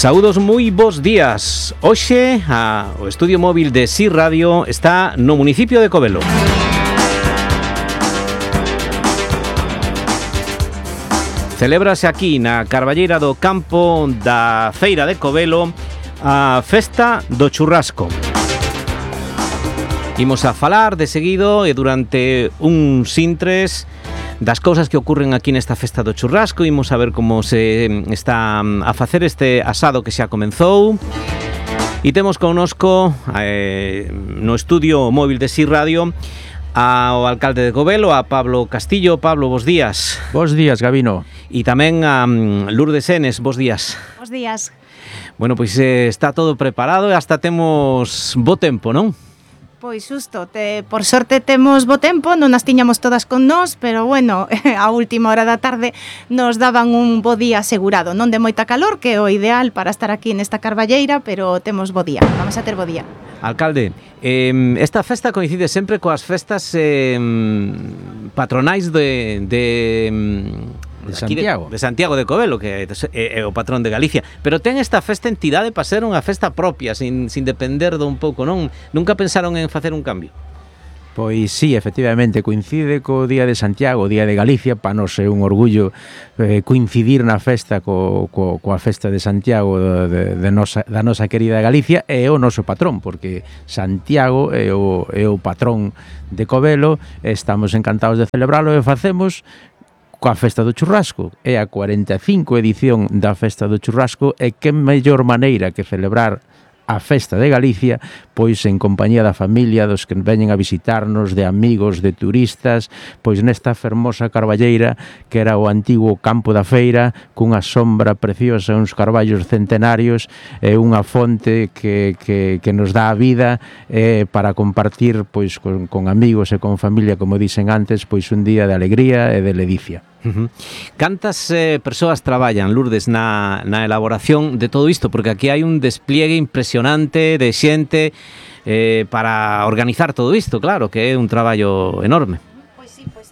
Saúdos moi bons días. Hoxe o estudio móvil de SI Radio está no municipio de Covelo. Celébrase aquí na Carballeira do Campo da Feira de Covelo a Festa do Churrasco. Imos a falar de seguido e durante uns intres das cousas que ocurren aquí nesta Festa do Churrasco. Imos a ver como se está a facer este asado que xa comenzou. E temos connosco no estudio móvil de SI Radio ao alcalde de Covelo, a Pablo Castillo. Pablo, bos días. Bos días, Gabino. E tamén a Lourdes Enes, bos días. Bos días. Bueno, pois está todo preparado e hasta temos bo tempo, non? Pois xusto, por sorte temos bo tempo, non as tiñamos todas con nós, pero bueno, a última hora da tarde nos daban un bo día asegurado, non de moita calor, que é o ideal para estar aquí nesta Carballeira, pero temos bo día, vamos a ter bo día. Alcalde, esta festa coincide sempre coas festas patronais de Santiago. De Santiago de Covelo, que é o patrón de Galicia. Pero ten esta festa entidade para ser unha festa propia, sin depender de un pouco, non? Nunca pensaron en facer un cambio? Pois sí, efectivamente, coincide co Día de Santiago, o Día de Galicia, para nos é un orgullo coincidir na festa coa festa de Santiago da nosa querida Galicia, e o noso patrón, porque Santiago é o patrón de Covelo, estamos encantados de celebralo e facemos coa Festa do Churrasco. É a 45 edición da Festa do Churrasco e que mellor maneira que celebrar a Festa de Galicia, pois en compañía da familia, dos que veñen a visitarnos, de amigos, de turistas, pois nesta fermosa Carballeira que era o antigo campo da feira, cunha sombra preciosa, uns carballos centenarios e unha fonte que nos dá a vida para compartir pois con amigos e con familia, como dicen antes, pois un día de alegría e de ledicia. Cantas persoas traballan, Lourdes, na elaboración de todo isto? Porque aquí hai un despliegue impresionante de xente para organizar todo isto, claro, que é un traballo enorme. Pois sí, pois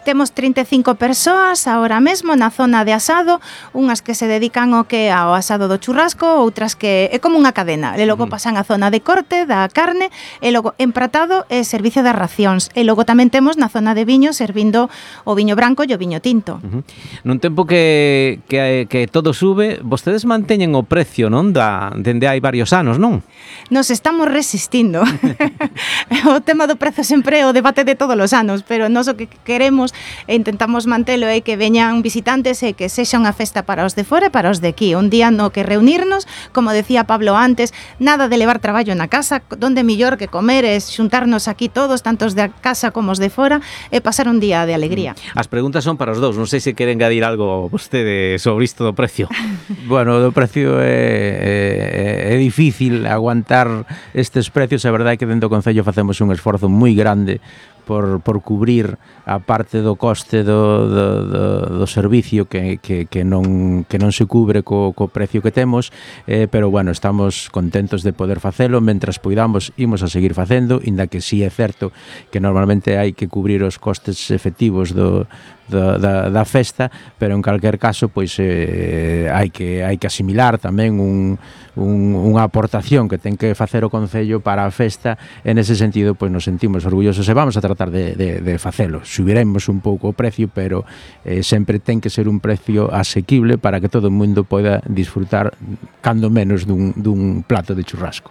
temos 35 persoas agora mesmo na zona de asado, unhas que se dedican ao asado do churrasco, outras que é como unha cadena, e logo pasan a zona de corte da carne, e logo empratado e servicio das racións, e logo tamén temos na zona de viño servindo o viño branco e o viño tinto. Nun tempo que todo sube, vostedes manteñen o precio, non? Dende hai varios anos, non? Nos estamos resistindo. O tema do prezo sempre é o debate de todos os anos, pero nós o que queremos e intentamos mantelo é que veñan visitantes e que sexa unha festa para os de fora e para os de aquí, un día no que reunirnos, como decía Pablo antes, nada de levar traballo na casa, donde millor que comer é xuntarnos aquí todos, tantos de casa como os de fora, e pasar un día de alegría. As preguntas son para os dous, non sei se queren engadir algo vostede sobre isto do precio. Bueno, do precio é difícil aguantar estes precios, a verdade é que dentro do Concello facemos un esforzo moi grande por cubrir a parte do coste do servicio que non se cubre co precio que temos, pero bueno, estamos contentos de poder facelo, mentras poidamos imos a seguir facendo, inda que sí é certo que normalmente hai que cubrir os costes efectivos da festa, pero en calquer caso pois hai que asimilar tamén unha aportación que ten que facer o Concello para a festa, e nese sentido pois nos sentimos orgullosos e vamos a tratar de facelo. Subiremos un pouco o precio, pero sempre ten que ser un precio asequible para que todo o mundo poida disfrutar cando menos dun plato de churrasco.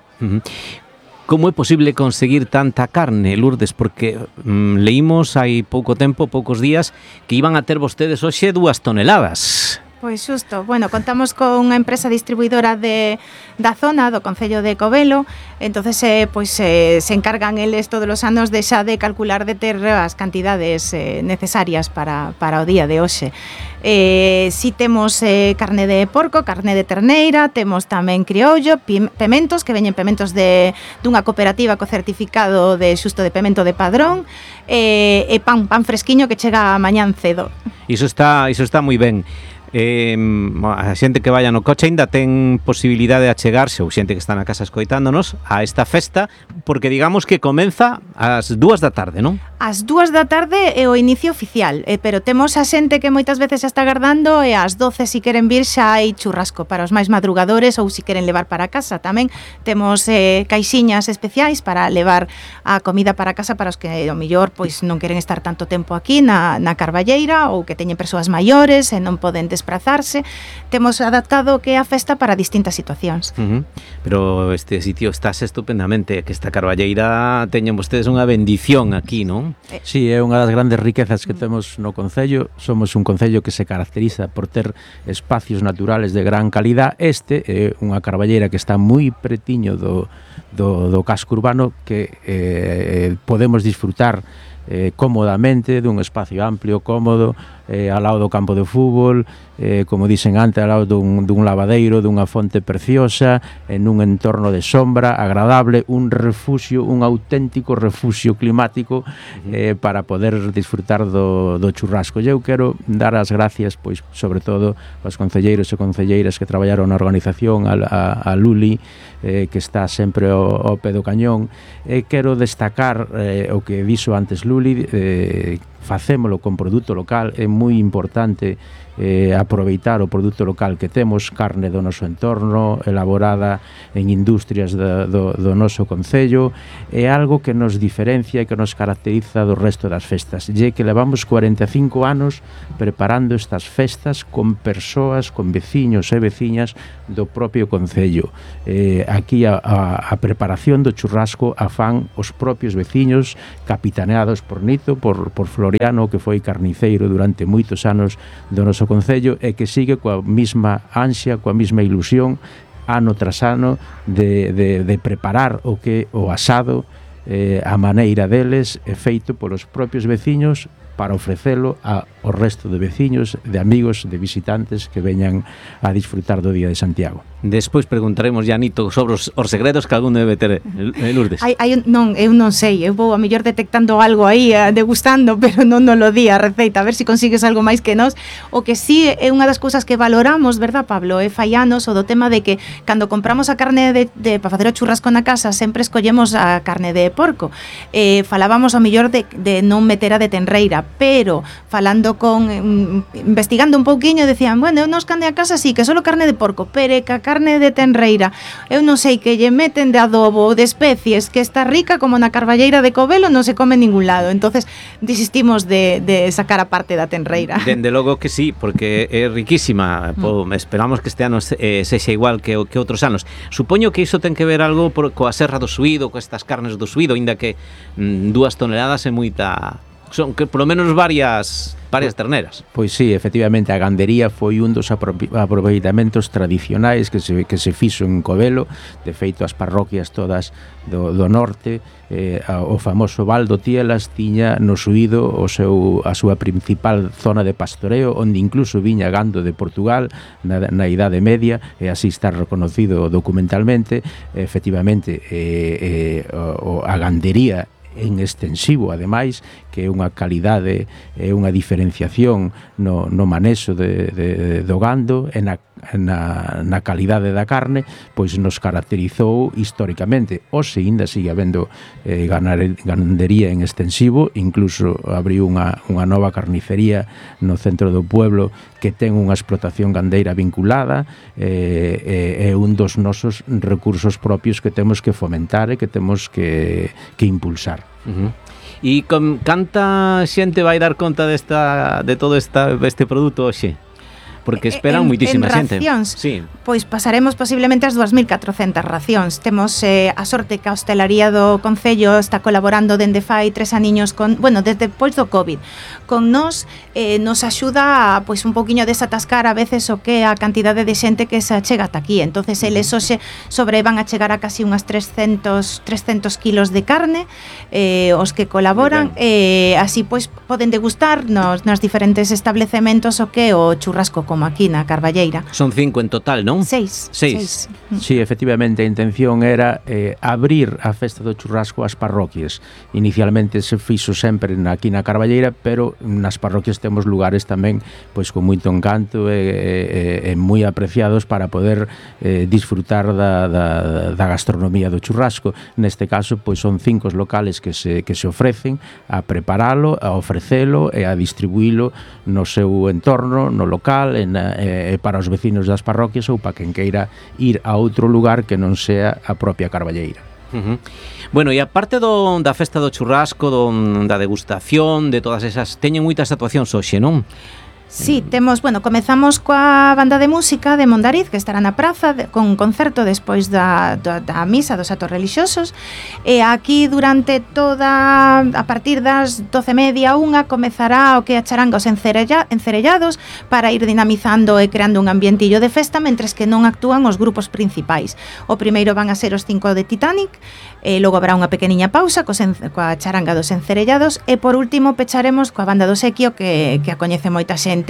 Como é posible conseguir tanta carne, Lourdes? Porque leímos hai pouco tempo, poucos días, que iban a ter vostedes hoxe 2 toneladas. Pois xusto, bueno, contamos con unha empresa distribuidora da zona do Concello de Covelo, entonces se encargan eles todos os anos de calcular de ter as cantidades necesarias para o día de hoxe. Si temos carne de porco, carne de terneira, temos tamén criollo, pementos, que veñen pementos dunha cooperativa co certificado de xusto de pemento de padrón, e pan fresquiño que chega mañán cedo. Iso está moi ben. A xente que vaya no coche aínda ten posibilidade de achegarse, ou xente que está na casa escoitándonos, a esta festa, porque digamos que comeza ás 2 da tarde, non? Ás 2 da tarde é o inicio oficial, pero temos a xente que moitas veces xa está agardando e ás 12 se queren vir xa hai churrasco para os máis madrugadores ou se queren levar para casa. Tamén temos caixiñas especiais para levar a comida para casa para os que ao mellor pois non queren estar tanto tempo aquí na Carballeira ou que teñen persoas maiores e non poden desplazarse. Temos adaptado que é a festa para distintas situacións. Pero este sitio estáse estupendamente, que esta Carballeira teñen vostedes unha bendición aquí, non? Sí, é unha das grandes riquezas que temos no concello. Somos un concello que se caracteriza por ter espacios naturales de gran calidad. Este é unha Carballeira que está moi pretiño do casco urbano, que podemos disfrutar cómodamente dun espacio amplio, cómodo, ao lado do campo de fútbol, como dicen antes, ao lado dun lavadeiro, dunha fonte preciosa, en un entorno de sombra agradable, un refuxio, un auténtico refuxio climático para poder disfrutar do churrasco. E eu quero dar as gracias, pois, sobre todo aos concelleiros e concelleiras que traballaron na organización, a Luli, que está sempre ao pé do cañón. Quero destacar o que dixo antes Luli, facémolo con produto local. É moi importante aproveitar o produto local que temos, carne do noso entorno, elaborada en industrias do noso concello. É algo que nos diferencia e que nos caracteriza do resto das festas, e que levamos 45 anos preparando estas festas con persoas, con veciños e veciñas do propio concello. Aquí a preparación do churrasco a fan os propios veciños, capitaneados por Nito, por Floriano, que foi carniceiro durante moitos anos do noso concello, e que sigue coa mesma ansia, coa mesma ilusión, ano tras ano, de preparar o que o asado, a maneira deles, é feito polos propios veciños para ofrecelo ao resto de veciños, de amigos, de visitantes que veñan a disfrutar do Día de Santiago. Despois preguntaremos ya Nito sobre os segredos que algún debe ter, Lourdes. Non, eu non sei, eu vou a mellor detectando algo aí, degustando, pero non lo di a receita, a ver se consigues algo máis que nós. O que sí é unha das cousas que valoramos, verdad, Pablo, é fallanos o do tema de que cando compramos a carne para facer o churrasco na casa sempre escollemos a carne de porco. Falábamos ao mellor de non meter a de tenreira, pero falando investigando un pouquiño, decían, bueno, eu nos carne a casa sí, que solo carne de porco, pero que a carne de tenreira, eu non sei que lle meten de adobo, de especies, que está rica como na Carballeira de Covelo, non se come en ningún lado. Entonces desistimos de sacar a parte da tenreira. Dende logo que sí, porque é riquísima. Esperamos que este ano sexa igual que outros anos. Supoño que iso ten que ver algo coa serra do Suído, coas estas carnes do Suído, inda que 2 toneladas é moita... Son que polo menos varias terneras. Pois sí, efectivamente, a gandería foi un dos aproveitamentos tradicionais que se fixo en Covelo. De feito, as parroquias todas do norte, o famoso Val do Tielas tiña no Suído a súa principal zona de pastoreo, onde incluso viña gando de Portugal na Idade Media, e así está reconocido documentalmente. Efectivamente, a gandería en extensivo, ademais, que é unha calidade e unha diferenciación no manexo do gando e na calidade da carne, pois nos caracterizou históricamente. Hoxe ainda sigue habendo gandería en extensivo, incluso abriu unha nova carnicería no centro do pueblo que ten unha explotación gandeira vinculada, é un dos nosos recursos propios que temos que fomentar e que temos que impulsar. E canta xente vai dar conta de todo este produto hoxe? Porque esperan moitísima xente. Sí. Pois pasaremos posiblemente as 2.400 racións. Temos a sorte que a hostelaría do Concello está colaborando dende fai 3 aniños desde depois do COVID. Con nos axuda a un pouquiño desatascar a veces o que a cantidade de xente que se achega ata aquí. Entonces eles hoxe van a chegar a casi unhas 300 kilos de carne, os que colaboran, así poden degustar nos diferentes establecementos o que o churrasco como aquí na Carballeira. Son 5 en total, non? 6. Sí, efectivamente, a intención era abrir a festa do churrasco ás parroquias. Inicialmente se fixo sempre aquí na Carballeira, pero nas parroquias temos lugares tamén pois con moito encanto e moi apreciados para poder disfrutar da gastronomía do churrasco. Neste caso, pois son 5 locales que se ofrecen a preparalo, a ofrecelo e a distribuílo no seu entorno, no local, para os vecinos das parroquias ou para quen queira ir a outro lugar que non sea a propia Carballeira. Bueno, e aparte da festa do churrasco, da degustación, de todas esas, teñen moitas actuacións hoxe, non? Sí, comezamos coa banda de música de Mondariz, que estará na praza con un concerto despois da misa dos atos relixiosos, e aquí durante a partir das 12:30, 1, comezará o que a charanga os encerellados para ir dinamizando e creando un ambientillo de festa, mentres que non actúan os grupos principais. O primeiro van a ser os 5 de Titanic, e logo habrá unha pequeniña pausa coa charanga dos encerellados, e por último pecharemos coa banda do Sequio, que a coñece moita xente,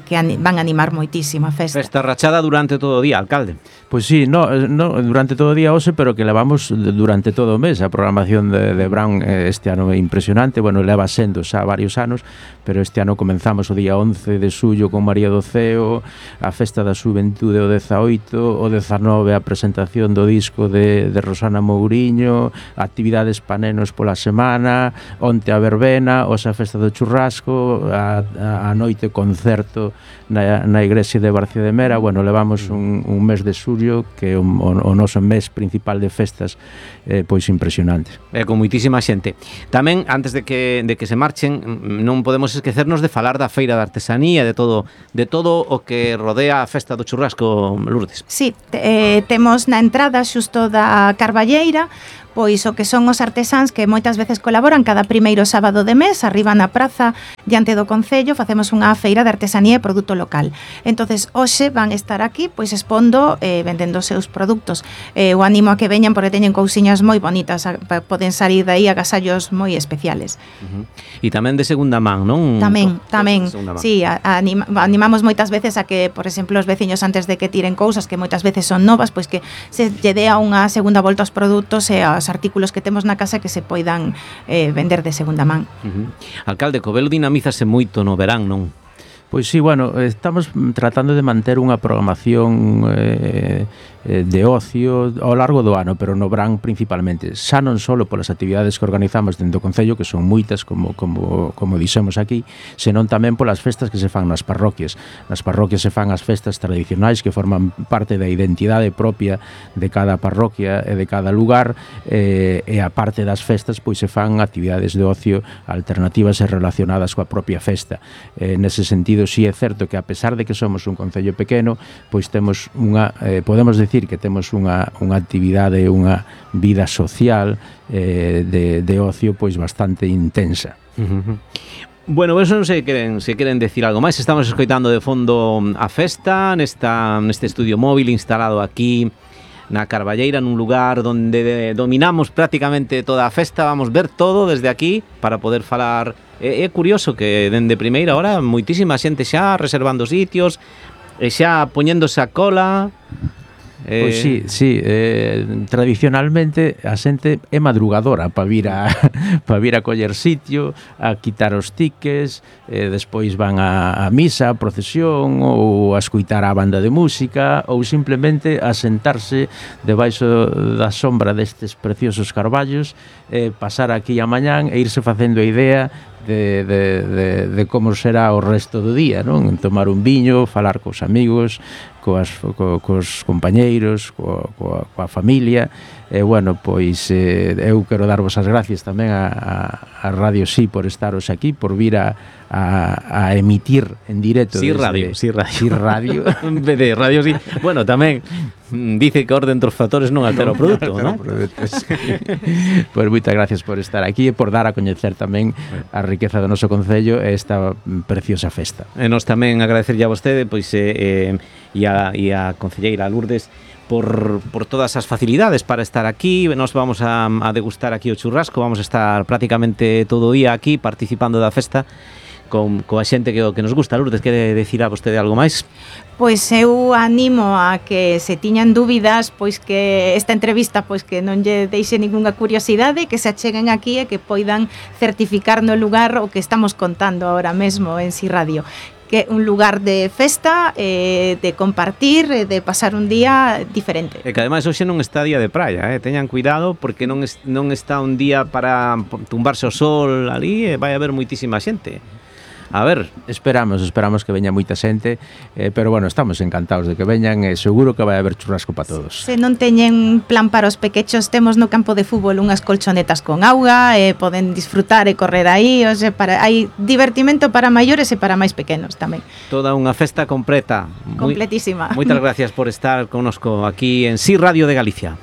que van a animar moitísimo a festa. Festa rachada durante todo o día, alcalde. Pois sí, no, durante todo o día hoxe, pero que levamos durante todo o mes. A programación de Brown este ano é impresionante, leva sendo xa varios anos, pero este ano comenzamos o día 11 de xullo con María do Ceo, a Festa da Xuventude o 18, o 19 a presentación do disco de Rosana Mouriño, actividades panenos pola semana, onte a verbena, hoxe a Festa do Churrasco, a noite concerto na igrexa de Barcia de Mera. Levamos un mes de xullo que é o noso mes principal de festas, pois impresionante. Con moitísima xente. Tamén, antes de que se marchen, non podemos esquecernos de falar da feira de artesanía, de todo o que rodea a festa do churrasco, Lourdes. Sí, temos na entrada xusto da Carballeira pois o que son os artesáns que moitas veces colaboran cada primeiro sábado de mes, arriba na praza diante do Concello, facemos unha feira de artesanía e produto local. Entonces, hoxe van estar aquí pois expondo, vendendo os seus produtos. O animo a que veñan porque teñen cousiñas moi bonitas, poden salir de aí agasallos moi especiales. E tamén de segunda man, non? Tamén. Sí, animamos moitas veces a que, por exemplo, os veciños antes de que tiren cousas que moitas veces son novas, pois que se lle dea unha segunda volta aos produtos e os artículos que temos na casa que se poidan vender de segunda man. Alcalde, Covelo dinamízase moito no verán, non? Pois sí, estamos tratando de manter unha programación de ocio ao largo do ano, pero no verán principalmente, xa non só polas actividades que organizamos dentro do Concello, que son moitas, como dixemos aquí, senón tamén polas festas que se fan nas parroquias. Nas parroquias se fan as festas tradicionais que forman parte da identidade propia de cada parroquia e de cada lugar, e a parte das festas pois se fan actividades de ocio alternativas e relacionadas coa propia festa. Nese sentido, sí é certo que a pesar de que somos un concello pequeno, pois temos podemos decir que temos unha actividade, unha vida social de ocio pois bastante intensa. Bueno, eso non sei se queren decir algo máis. Estamos escoitando de fondo a festa neste estudio móvil instalado aquí na Carballeira, nun lugar onde dominamos prácticamente toda a festa. Vamos ver todo desde aquí para poder falar. É curioso que dende primeira hora moitísima xente xa reservando sitios e xa poñéndose a cola. Pois sí, tradicionalmente a xente é madrugadora para vir a coller sitio, a quitar os tickets, despois van a misa, a procesión, ou a escuitar a banda de música, ou simplemente a sentarse debaixo da sombra destes preciosos carballos, pasar aquí a mañán e irse facendo a idea de como será o resto do día, non? Tomar un viño, falar cos amigos, cos compañeiros, coa familia. Pois eu quero darvos as gracias tamén a Radio Sí por estaros aquí, por vir a emitir en directo. Sí, Radio. De Radio Sí. Bueno, tamén dice que orden dos factores non altera o produto, non? Pois moitas gracias por estar aquí e por dar a coñecer tamén a riqueza do noso concello e esta preciosa festa. E nós tamén agradecerlle a vostede pois e a concelleira Lourdes por todas as facilidades para estar aquí. Nos vamos a degustar aquí o churrasco, vamos a estar prácticamente todo o día aquí participando da festa, coa xente que nos gusta. Lourdes, quere decir a vostede algo máis? Pois eu animo a que se tiñan dúbidas, pois que esta entrevista pois que non lle deixe ningunha curiosidade, que se acheguen aquí e que poidan certificar no lugar o que estamos contando ahora mesmo en Si Radio, que é un lugar de festa, de compartir, de pasar un día diferente. E que ademais hoxe non está día de praia, teñan cuidado porque non está un día para tumbarse o sol ali e vai haber moitísima xente. A ver, esperamos que veña moita xente, pero bueno, estamos encantados de que veñan e seguro que vai haber churrasco para todos. Se non teñen plan para os pequechos, temos no campo de fútbol unhas colchonetas con auga, poden disfrutar e correr aí, o sea, hai divertimento para maiores e para máis pequenos tamén. Toda unha festa completa. Completísima. Moitas gracias por estar connosco aquí en Si Radio de Galicia.